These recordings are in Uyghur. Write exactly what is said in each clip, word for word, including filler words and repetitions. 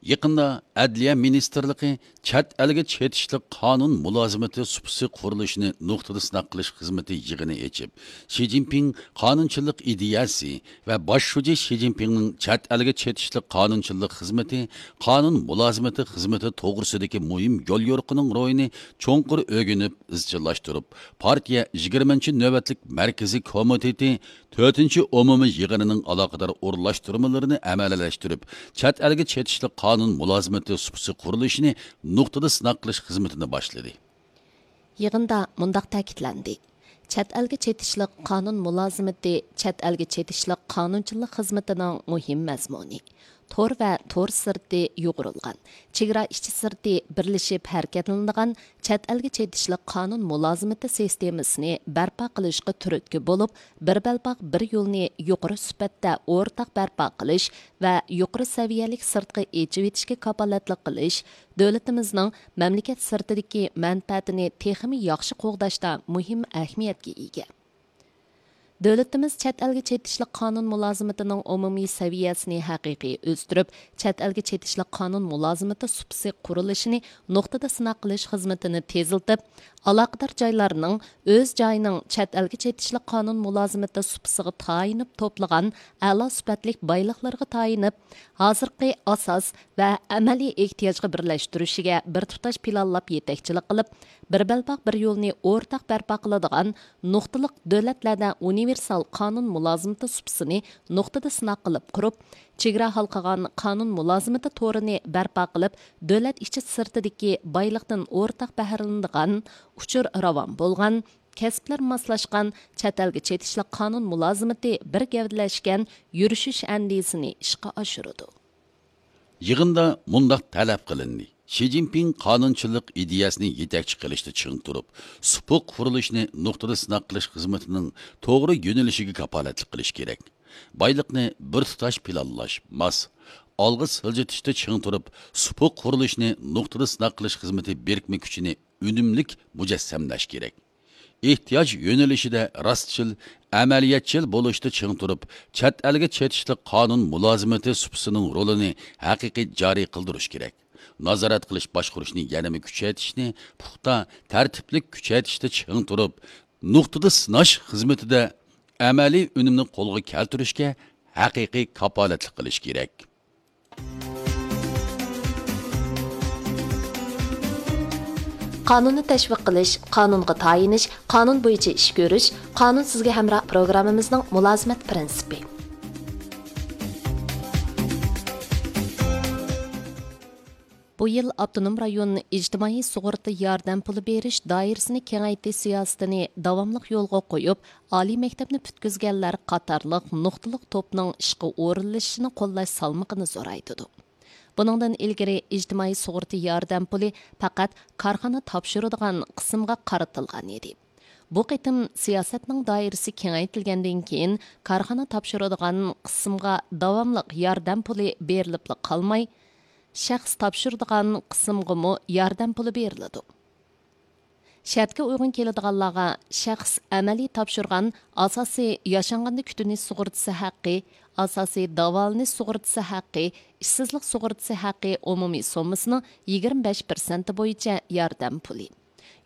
يېقىندا ئەدلىيە مىنىستىرلىقى چەت ئەلگە چېتىشلىق قانۇن مۇلازىمىتى سۇپىسى قۇرۇلۇشىنى نۇقتىدا سىناق قىلىش خىزمىتى يىغىنى ئېچىپ، شى جىنپىڭ قانۇنچىلىق ئىدىيەسى ۋە باش شۇجى شى جىنپىڭنىڭ چەت ئەلگە چېتىشلىق قانۇنچىلىق خىزمىتى، قانۇن مۇلازىمىتى خىزمىتى توغرىسىدىكى مۇھىم يوليورۇقىنىڭ روھىنى چوڭقۇر ئۆگىنىپ، ئىزچىللاشتۇرۇپ، پارتىيە يىگىرمىنچى نۆۋەتلىك مەركىزىي كومىتېتى تۆتىنچى ئومۇمىي يىغىنىنىڭ ئالاقىدار ئورۇنلاشتۇرمىلىرىنى ئەمەلىيلەشتۈرۈپ، چەت ئەلگە چېتىشلىق قانۇن مۇلازىمىتى سۇپىسى قۇرۇلۇشىنى نۇقتىدا سىناق قىلىش خىزمىتىنى باشلىدى. يىغىندا مۇنداق تەكىتلەندى: چەت ئەلگە چېتىشلىق قانۇن مۇلازىمىتى چەت ئەلگە چېتىشلىق قانۇنچىلىق خىزمىتىنىڭ مۇھىم مەزمۇنى. تور ۋە تور سىرتى يۇغۇرۇلغان، چېگرا ئىچى سىرتى بىرلىشىپ ھەرىكەتلىنىدىغان چەت ئەلگە چېتىشلىق قانۇن مۇلازىمىتى سىستېمىسىنى بەرپا قىلىشقا تۈرتكە بولۇپ، بىر بەلباغ، بىر يولنى يۇقىرى سۈپەتتە ئورتاق بەرپا قىلىش ۋە يۇقىرى سەۋىيەلىك سىرتقا ئېچىۋېتىشكە كاپالەتلىك قىلىش دۆلىتىمىزنىڭ مەملىكەت سىرتىدىكى مەنپەئەتىنى تېخىمۇ ياخشى قوغداشتا مۇھىم ئەھمىيەتكە ئىگە. دۆلىتىمىز چەت ئەلگە چېتىشلىق قانۇن مۇلازىمىتىنىڭ ئومۇمىي سەۋىيەسىنى ھەقىقىي ئۆستۈرۈپ، چەت ئەلگە چېتىشلىق قانۇن مۇلازىمىتى سۇپىسى قۇرۇلۇشىنى نۇقتىدا سىناق قىلىش خىزمىتىنى تېزلىتىپ، ئالاقىدار جايلارنىڭ ئۆز جايىنىڭ چەت ئەلگە چېتىشلىق قانۇن مۇلازىمىتى سۇپىسىغا تايىنىپ توپلىغان ئەلا سۈپەتلىك بايلىقلىرىغا تايىنىپ، ھازىرقى ئاساس ۋە ئەمەلىي ئېھتىياجغا بىرلەشتۈرۈشىگە بىر تۇتاش پىلانلاپ يېتەكچىلىك قىلىپ، بىر بەلباغ، بىر يولنى ئورتاق بەرپا قىلىدىغان نۇقتىلىق دۆلەتلەردە ئۇنىۋېرسال قانۇن مۇلازىمىتى سۇپىسىنى نۇقتىدا سىناق قىلىپ قۇرۇپ، چېگرا ھالقىغان قانۇن مۇلازىمىتى تورىنى بەرپا قىلىپ، دۆلەت ئىچى سىرتىدىكى بايلىقتىن ئورتاق بەھرىلىنىدىغان ئۇچۇر راۋان بولغان، كەسىپلەر ماسلاشقان چەت ئەلگە چېتىشلىق قانۇن مۇلازىمىتى بىر گەۋدىلەشكەن يۈرۈشۈش ئەندىزىسىنى ئىشقا ئاشۇرىدۇ. يىغىندا مۇنداق تەلەپ قىلىندى: شى جىنپىڭ قانۇنچىلىق ئىدىيەسىنى يېتەكچى قىلىشتا چىڭ تۇرۇپ، سۇپۇق قۇرۇلۇشنى نۇقتىدا سىناق قىلىش خىزمىتىنىڭ توغرا يۆنىلىشىگە كاپالەتلىك قىلىش كېرەك. بايلىقنى بىر تۇتاش پىلانلاش، ماس، ئالغا سىلجىتىشتا چىڭ تۇرۇپ، سۇپۇق قۇرۇلۇشنى نۇقتىدا سىناق قىلىش خىزمىتى بىرىكمە كۈچىنى ئۈنۈملۈك مۇجەسسەملەش كېرەك. ئېھتىياج يۆنىلىشىدە راستچىل، ئەمەلىيەتچىل بولۇشتا چىڭ تۇرۇپ، چەت ئەلگە چېتىشلىق قانۇن مۇلازىمىتى سۇپىسىنىڭ رولىنى ھەقىقىي جارى قىلدۇرۇش كېرەك. نازارەت قىلىش باشقۇرۇشنى يەنىمۇ كۈچەيتىشنى پۇختا، تەرتىپلىك كۈچەيتىشتە چىڭ تۇرۇپ، نۇقتىدا سىناش خىزمىتىدە ئەمەلىي ئۈنۈمنى قولغا كەلتۈرۈشكە ھەقىقىي كاپالەتلىك قىلىش كېرەك. قانۇننى تەشۋىق قىلىش، قانۇنغا تايىنىش، قانۇن بويىچە ئىش كۆرۈش، قانۇن سىزگە ھەمراھ پروگراممىمىزنىڭ مۇلازىمەت پىرىنسىپى. بۇ يىل ئاپتونوم رايون ئىجتىمائىي سۇغۇرتا ياردەم پۇلى بېرىش دائىرىسىنى كېڭەيتىش سىياسىتىنى داۋاملىق يولغا قويۇپ، ئالىي مەكتەپنى پۈتكۈزگەنلەر قاتارلىق نۇقتىلىق توپنىڭ ئىشقا ئورۇنلىشىشىنى قوللاش سالمىقىنى زورايتىدۇ. بۇنىڭدىن ئىلگىرى ئىجتىمائىي سۇغۇرتا ياردەم پۇلى پەقەت كارخانا تاپشۇرىدىغان قىسىمغا قارىتىلغان ئىدى. بۇ قېتىم سىياسەتنىڭ دائىرىسى كېڭەيتىلگەندىن كېيىن، كارخانا تاپشۇرىدىغان قىسىمغا داۋاملىق ياردەم پۇلى بېرىلىپلا قالماي، شەخس تاپشۇرىدىغان قىسىمغىمۇ ياردەم پۇلى بېرىلىدۇ. شەرتكە ئۇيغۇن كېلىدىغانلارغا شەخس ئەمەلىي تاپشۇرغان ئاساسىي ياشانغاندا كۈتۈنۈش سۇغۇرتىسى ھەققى، ئاساسىي داۋالىنىش سۇغۇرتىسى ھەققى، ئىشسىزلىق سۇغۇرتىسى ھەققى ئومۇمىي سوممىسىنىڭ يىگىرمە بەش پىرسەنتى بويىچە ياردەم پۇلى.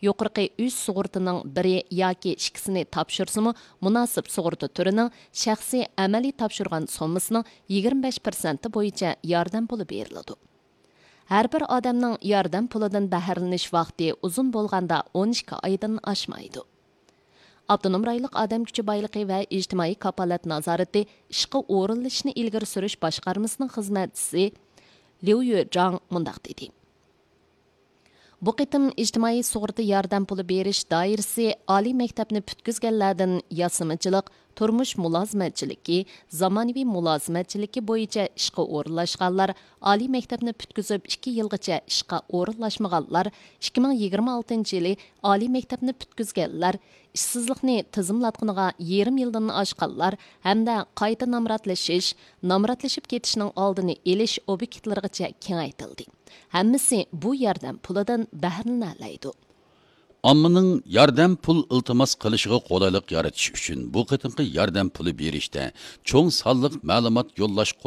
يۇقىرىقى ئۈچ سۇغۇرتىنىڭ بىرى ياكى ئىككىسىنى تاپشۇرسىمۇ، مۇناسىپ سۇغۇرتا تۈرىنىڭ شەخسىي ئەمەلىي تاپشۇرغان سوممىسىنىڭ يىگىرمە بەش پىرسەنتى بويىچە ياردەم پۇلى بېرىلىدۇ. ھەر بىر ئادەمنىڭ ياردەم پۇلىدىن بەھرىلىنىش ۋاقتى ئۇزۇن بولغاندا ئون ئىككى ئايدىن ئاشمايدۇ. ئاپتونوم رايونلۇق ئادەم كۈچى بايلىقى ۋە ئىجتىمائىي كاپالەت نازارىتى ئىشقا ئورۇنلىشىشنى ئىلگىرى سۈرۈش باشقارمىسىنىڭ خىزمەتچىسى ليۇ يۆجاڭ مۇنداق دېدى. بۇ قېتىم ئىجتىمائىي سۇغۇرتا ياردەم پۇلى بېرىش دائىرىسى ئالىي مەكتەپنى پۈتكۈزگەنلەردىن ياسىمىچىلىق، تۇرمۇش مۇلازىمەتچىلىكى، زامانىۋى مۇلازىمەتچىلىكى بويىچە ئىشقا ئورۇنلاشقانلار، ئالىي مەكتەپنى پۈتكۈزۈپ ئىككى يىلغىچە ئىشقا ئورۇنلاشمىغانلار، ئىككى مىڭ يىگىرمە ئالتىنچى يىلى ئالىي مەكتەپنى پۈتكۈزگەنلەر، ئىشسىزلىقنى تىزىملاتقىنىغا يېرىم يىلدىن ئاشقانلار ھەمدە قايتا نامراتلىشىش، نامراتلىشىپ كېتىشنىڭ ئالدىنى ئېلىش ئوبيېكتلىرىغىچە كېڭەيتىلدى. ھەممىسى بۇ ياردەم پۇلىدىن بەھرىلىنەلەيدۇ. ئاممىنىڭ ياردەم پۇل ئىلتىماس قىلىشىغا قولايلىق يارىتىش ئۈچۈن بۇ قېتىمقى ياردەم پۇلى بېرىشتە چوڭ سانلىق مەلۇمات يوللاش